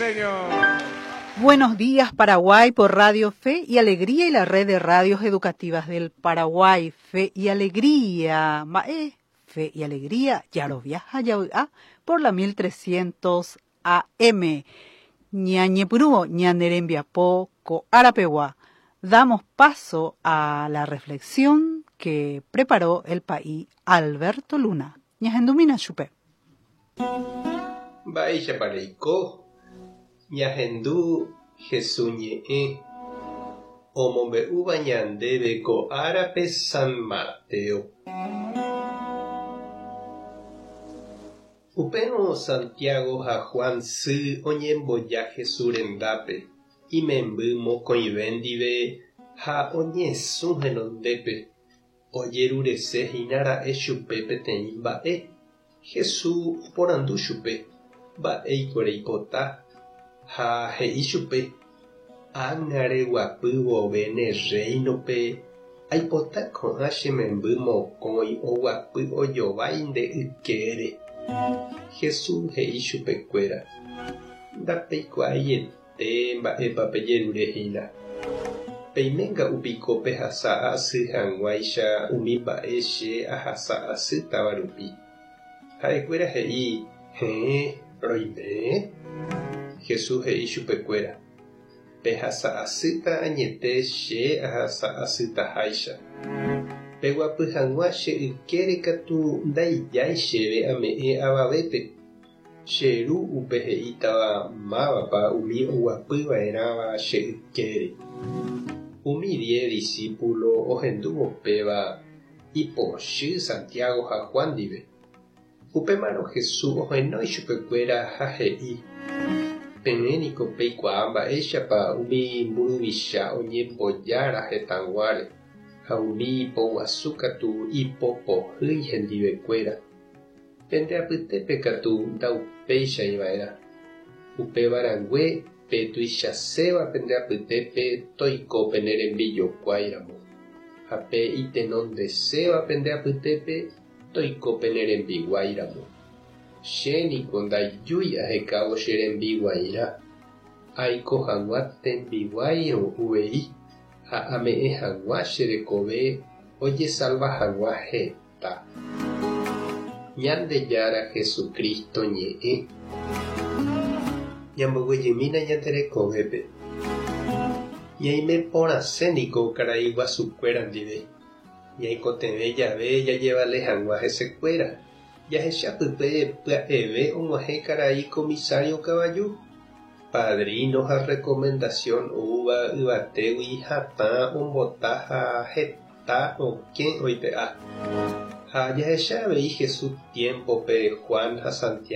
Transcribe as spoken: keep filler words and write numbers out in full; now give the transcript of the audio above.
señor. Buenos días, Paraguay, por Radio Fe y Alegría y la red de radios educativas del Paraguay. Fe y Alegría. Mae, Fe y Alegría, Yaroviaja, Yaoa, por la mil trescientos A M. Ñañepyrũvo, ñane rembiapo, ko árapegua. Damos paso a la reflexión que preparó el pa'i Alberto Luna. Ñahendumína chupe. Mba'éichapa reiko ñahendu Jesús ñe'ẽ omombe'úva ñandéve ko árape San Mateo. Upérõ Santiago ha Juan sy oñemboja Jesús rendápe imemby mokõive ndive ha oñesũ henondépe ojeruresehína ra'e chupe peteĩ mba'e. Jesús oporandu chupe: "Mba'éiko reipota?" Ha he'i chupe: "Ág̃a reguapy vove ne rréinope aipota ko'ã che memby mokõi oguapy ojovái nde ykére." Jesús he'i chupekuéra: "Ndapeikuaaiete mba'épa pejerurehína. Peiménga'upiko pehasa asy hag̃uáicha umi mba'e che ahasa asýtava rupi?" Ha'ekuéra he'i: "Héẽ, roime." Jesús he'i chupekuéra: "Pehasa asýta añete che ahasa asytaháicha. Peguapy hag̃ua che ykére katu ndaijái chéve ame'ẽ avavépe. Che ru upe he'ítava mávapa umi oguapyva'erãva che ykére." Umi diez discípulo ohendúvo péva ipochy Santiago ha Juan ndive. Upémarõ Jesús ohenói chupekuéra ha he'i: "Peẽ niko peikuaa mba'éichapa umi mburuvicha oñembojára hetãguáre ha umi poguasu katu ipopohýi hendivekuéra. Pende apytépe katu ndaupéichaiva'erã. Upevarãngue pe tuichaséva pende apytépe toiko pene rembijokuáiramo ha pe itenondeséva pende apytépe toiko pene rembiguáiramo. Che niko ndajúi ahekávo che rembiguairã, aiko hag̃ua tembiguáirõ uvei ha ame'ẽ hag̃ua che rekove ojesalva hag̃ua heta." Ñandejára Jesucristo ñe'ẽ. Ñamboguejymína ñande rekovépe. Ñaime porãse niko karai guasukuéra ndive. Ñaikotevẽ jave jajevale hag̃ua hesekuéra. Jahechapype pya'eve og̃uahẽ karai comisario kavaju. Padrino ha recomendación oúva yvatégui hatã ombota ha heta okẽ oipe'a. Ha jahecha avei Jesús tiempope Juan ha Santiago.